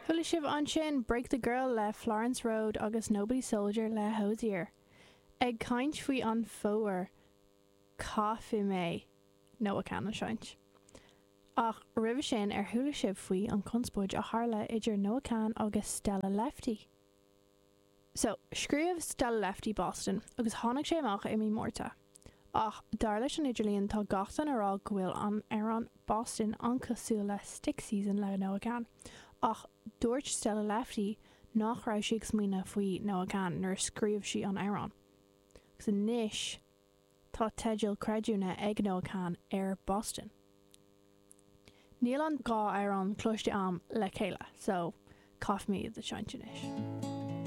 Chuala sibh ansin Break the Girl le Florence Road agus Nobody's Soldier le Hozier. Ag caint faoi an fómhar, caithfidh mé Noah Kahan a sheinnt. Ach roimhe sin, ar chuala sibh faoi an conspóid a tharla idir Noah Kahan agus Stella Lefty? So, scríobh Stella Lefty Boston agus tháinig sé amach i mí Márta. Ach dar leis an idirlíon tá gach duine a rá go bhfuil an amhrán Boston an-cosúil le Stick Season le Noah Kahan. Ach dúirt Stella Lefty nach raibh sí ag smaoineamh faoi Noah Kahan nuair a scríobh sí an amhrán. Agus anois tá teideal creidiúna ag Noah Kahan ar Boston. Níl an dá amhrán cloiste a'm le chéile so caithfidh mé iad a sheinnt anois.